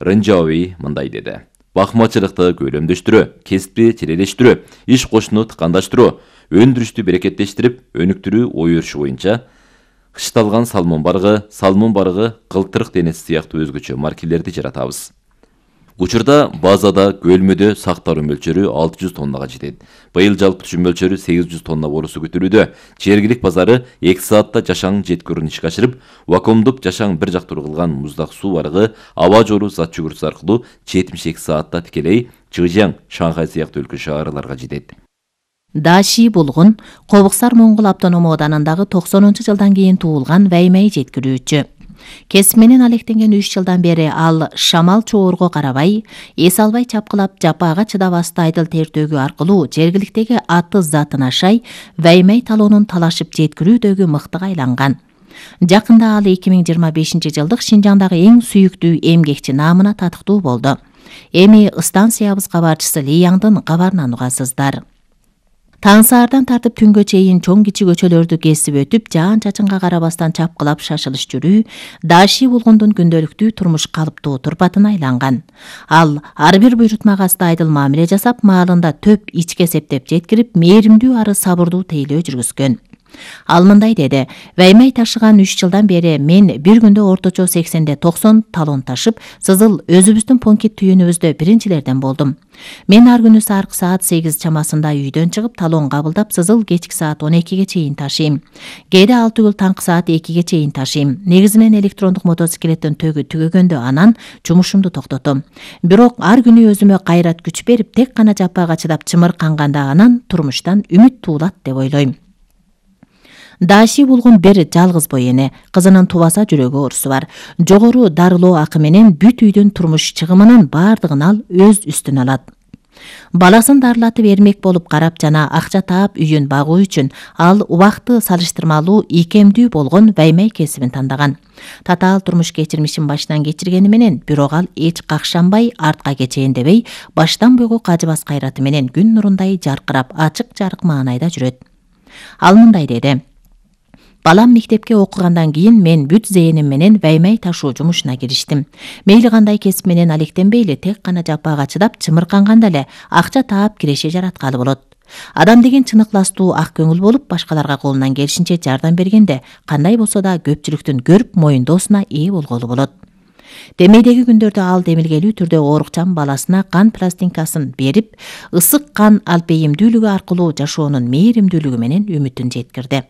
Рынжаови мындай деди. Бакмачылыкты көйлөмдөштүрүү, кесипти чирелештирүү, иш кошуну тыкандаштыруу, өндүрүштү берекеттештирип, өнүктүрүү ой өрүшү боюнча кышталган салмон барыгы, кылтырык денеси сыяктуу өзгөчө маркелерди жаратабыз. Учурда базада көлмөдө сакталуу мөлчөрү 600 тоннага жетет. Быйыл жалпы түшүм мөлчөрү 800 тонна болуусу күтүлүүдө. Жергилик базары 2 саатта жашаң жеткөрүн ишке ашырып, вакуумдук жашаң бир жактуу кылган муздак суу барыгы аба жолу зат жүгүртүсү аркылуу 72 саатта тикелей Чжэжьяң, Шанхай сыяктуу өлкө шаарларга жетет. Даши булгун Кобуксар Моңгол автономдук ооданындагы 90-жылдан кийин туулган Вэймэй жеткирүүчү. Кесип менен алектенген 3 жылдан бери ал шамал чоорго карабай, эс албай чапкылап, жапаага чыдабастуу айдыл тертөөгү аркылуу жергиликтеги атыз затын ашай, Вэймэй талоонун талашып жеткирүүдөгү мыктыга айланган. Жакында ал 2025 жылдык Шинжаңдагы эң сүйүктүү эмгекчи наамына татыктуу болду. Эми станциябыз кабарчысы Ли Яңдын кабарынан угасыздар. Таң саардан тартып түнгө чейин чоң кичи көчөлөрдү кесип өтүп, жаан-чачынга карабастан чапкылап шашылыш жүрүү Даши булгундун күндөлүктүү турмуш калыптуу турпатына айланган. Ал ар бир буйрутмага астайдыл мамиле жасап, маалында төп ичке септеп жеткирип, мээримдүү ары сабырдуу тейлөө жүргүзгөн. Ал мындай деди: Вэймэй ташыган 3 жылдан бери мен бир күндө орточо 80-90 талон ташып, Сызыл өзүбүздүн пункт түйүнүбүздө биринчилерден болдум. Мен ар күнү саркы саат 8 чамасында үйдөн чыгып, талон кабылдап, Сызыл кечки саат 12ге чейин ташыйм. Кээде ал түгүл таңкы саат 2ге чейин ташыйм. Негизинен электрондук мотоциклеттин төгү түгөгөндө анан жумушумду токтотом. Бирок ар күнү өзүмө кайрат күч берип, тек гана жапаага чыдап чымырканганда анан турмуштан үмүт туулат деп ойлойм. Даши булгун бир жалгыз бой эне, кызынын тубаса жүрөгү оорусу бар. Жогору дарылоо акы менен бүт үйдүн турмуш чыгымынын бардыгын ал өз үстүнө алат. Баласын дарылатып эрмек болуп карап жана акча таап үйүн багуу үчүн ал убакты салыштырмалуу ийкемдүү болгон Вэймэй кесибин тандаган. Татаал турмуш кечирмишин башынан кечиргени менен, бирок ал эч какшанбай, артка кечейин дебей, баштан буйга кажыбас кайраты менен күн нурундай жаркырап, ачык жарык маанайда жүрөт. Ал мындай деди: Балам мектепке окугандан кийин мен бүт зээним менен Вэймэй ташуу жумушуна кириштим. Мейли кандай кесип менен алектенбейли, тек гана жапаага чыдап, чымырканганда эле акча таап киреше жараткалы болот. Адам деген чыныкластуу, ак көңүл болуп, башкаларга колунан келишинче жардам бергенде, кандай болсо да көпчүлүктүн көрүп моюндоосуна ээ болголу болот. Демейдеги күндөрдө ал демилгелүү түрдө оорукчан баласына кан пластинкасын берип, ысык кан алпейимдүүлүгү аркылуу жашоонун мээримдүүлүгү менен үмүтүн жеткирди.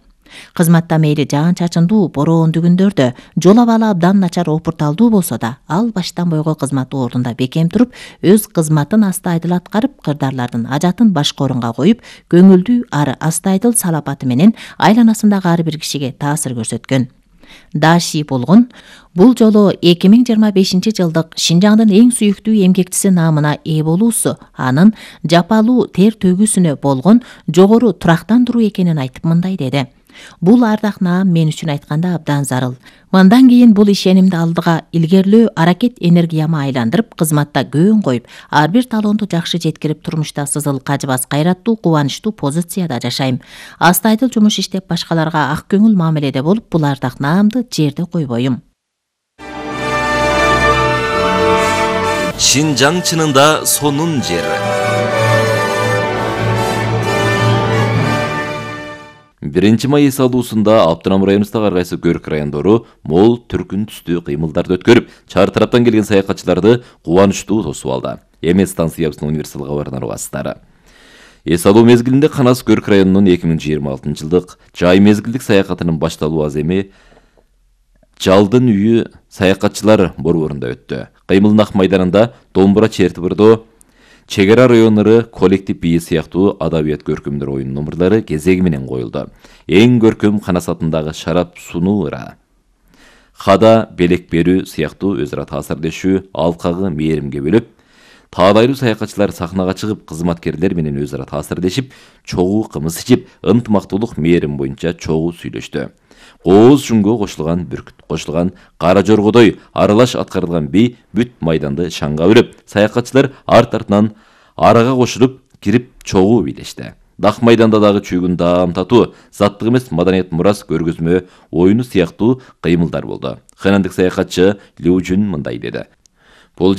Кызматта мейли жаан-чачындуу, бороондуу күндөрдө, жол абалы абдан начар опурталдуу болсо да, ал баштан бойго кызмат ордунда бекем туруп, өз кызматын астайдыл аткарып, кырдаарлардын ажатын башка орунга коюп, көңүлдүү ары астайдыл салапаты менен айланасындагы ар бир кишиге таасир көрсөткөн. Даши булгун бул жолу 2025 жылдык Шинжаңдын эң сүйүктүү эмгекчиси наамына ээ болуусу анын жапалуу тер төгүүсүнө болгон жогору турактандыруу экенин айтып мындай деди: Бул ардак наам мен үчүн айтканда абдан зарыл. Мындан кийин бул ишенимди алдыга илгерлөө аракет энергияма айландырып, кызматта көөн коюп, ар бир талоонду жакшы жеткирип, турмушта Сызыл кажыбас кайраттуу, кубанычтуу позицияда жашайм. Астайдыл жумуш иштеп, башкаларга ак көңүл мамиледе болуп, бул ардак наамды жерде койбойм. Шинжаң чынында сонун жер. 1 май эс алуусунда автоном районубуздагы ар кайсы көрк райондору мол түркүн түстүү кыймылдарды өткөрүп, чар тараптан келген саякатчыларды кубанычтуу тосуп алды. Эми станциябыздын универсал кабарынан угасыздар. Эс алуу мезгилинде Канас көрк районунун 2026 жылдык жай мезгилдик саякатынын башталуу аз эми Жалдын үйү саякатчылар борборунда өттү. Кыймылдын ак майданында домбура чертибирдоо, чек ара райондору коллектив бии сыяктуу адабият көркөмдөр оюн номурлары кезеги менен коюлду. Эң көркөм Канас атындагы шарап сунуу ыра, хада белек берүү сыяктуу өз ара таасирдешүү алкагы мээримге бөлөп, таадайлуу саякатчылар сахнага чыгып, кызматкерлер менен өз ара таасирдешип, чогуу кымыз ичип, ынтымактуулук мээрим боюнча чогуу сүйлөштү. Кооз жүнгө кошулган бүркүт, кошулган кара жоргодой аралаш аткарылган бий бүт майданды шаңга өрөп, саякатчылар арт-артынан арага кошулуп кирип чогуу бийлешти. Дак майданда дагы чүйгүн даам татуу, заттык эмес маданият мурас көргөзмө оюну сыяктуу кыймылдар болду. Ханандык саякатчы Лю Жун мындай деди: Бул